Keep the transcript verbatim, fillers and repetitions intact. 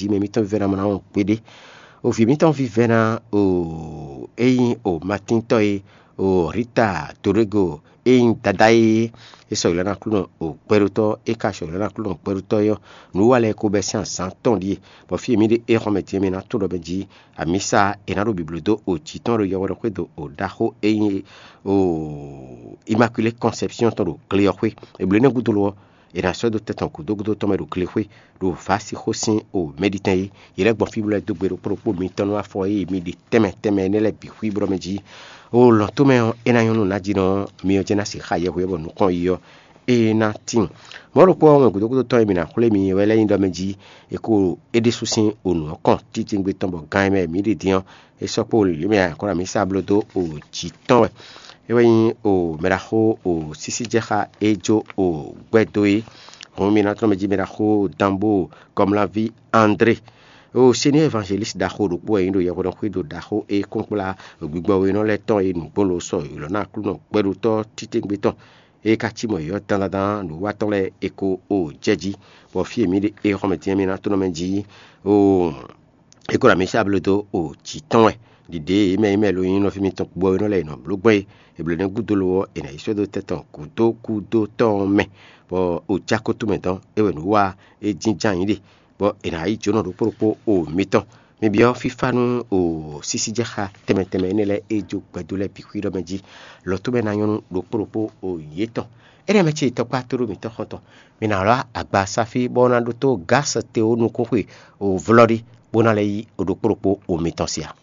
jí mɛ mǐtɔn vívɛ́ná mɔ ná wɔn kpéɖé. O vǐ mǐtɔn vívɛ́ná o é nyí o matíntɔ́ e o Rita Dorego e nyí dadá e é sɔ́ ylɔ́ ná Aklúnɔ o gbɛɖótɔ́ é ka sɔ́ ylɔ́ ná Aklúnɔ gbɛɖótɔ́ é ɔ́, nǔ wa lɛ́ɛ ko bɛ́ sín azǎn tɔn ɖíe, bɔ fí e mǐ ɖe é xɔmɛ din ɔ́, mǐ ná tunwun ɖɔ mɛ jí amǐsa è nǎ ɖo bǐbló dó o jǐ tɔn ɖo yɛhweɖɔxwé do o ɖaxó e nyí o Immaculée Conception tɔn ɖo gle ɔ́ xwé. È blǒ énɛ́ gúdo lo ɔ́, è nǎ sɔ́ dó tɛn tɔn gǔdo gúdo tɔn mɛ ɖo glexwé, ɖo Vásixó sín o Mɛɖitɛn é. Yě lɛ́ gbɔn fí bó lɛ́ dó gbe ɖokpó ɖokpó mitɔn nú afɔ e mi ɖe tɛnmɛ tɛnmɛ énɛ́ lɛ́ɛ bǐ xwí blɔ́ mɛ jí. O lɔ̌n tomɛ ɔ́, é ná nyɔ́ nú nǎjínɔ ɔ́, myɔ jɛ́n ná se xá yɛhweɔ́ bɔ nukɔn yi ɔ́, é ná tíin. Mɔ̌ ɖokpó ɔ́, wɛn gǔdo gúdo tɔn e mǐ ná xwlé mi wɛ lɛ́ nyí ɖɔ mɛ jí è ko é ɖésú sín o nǔ ɔ́ kɔn títí tɔn bɔ gan e mɛ mǐ ɖe din ɔ́, é sɔ́ kpó wǒlíwlí mɛ akwɛ́ mǐ sa bló dó o jǐ tɔn wɛ. É wɛ nyí o mɛɖaxó o sísíjɛxá e jó o gbɛ́ dó é. Hǔn mi ná tlɔ́n mɛ jí mɛɖaxó Danbo Kɔmlaví André. O senior évangéliste ɖaxó ɖokpó wɛ nyí ɖo yɛhweɖɔxwído ɖaxó e kɔnkplá gbigbɔ we nɔ lɛ́ɛ tɔn e nǔgbó lo sɔ ylɔ̌ ná Aklúnɔ gbɛɖótɔ́ titewungbe tɔn e ka cí mɔ yɔ̌ dandandan nǔwiwa tɔn lɛ́ɛ e ko o jɛ jí, bɔ fí e mǐ ɖe é xɔmɛ din ɔ́, mi ná tlɔ́n mɛ jí o é ko ɖo amǐ sá bló dó o jǐ tɔn wɛ. Ɖiɖě e mɛ e mɛ lo nyí nɔví mitɔn gbɔ e nɔ lɛ́ è nɔ bló gbɔn é, è blǒ nɛ́ gúdo lo ɔ́, è nǎ yi sɔ́ dó tɛ́ tɔn gǔdo gúdo tɔn ɔ́ mɛ, bɔ o jɛ akɔ́ tomɛ dɔn é wɛ nǔ wa é jínjɔ́n ayǐ ɖe, bɔ è nǎ yi jǒnɔ ɖokpó ɖokpó o mitɔn. Mi byɔ́ fífá nú o sísíjɛxá tɛnmɛ tɛnmɛ énɛ́ lɛ́ɛ e jó gbɛdó lɛ́ɛ bǐ xwíɖɔ mɛ jí, lɔ tó mɛ ná nyɔ́ nú ɖokpó ɖokpó o yětɔn. Énɛ́ mɛ ce tɔkpá tóɖó mǐtɔn xɔ́ntɔn, mi ná wlá agba sáfí bɔ ná ɖótó gási te ó nukúnxwe o vlɔ́ɖí, bó ná lɛ́ yí o ɖokpó ɖokpó o mitɔn sia.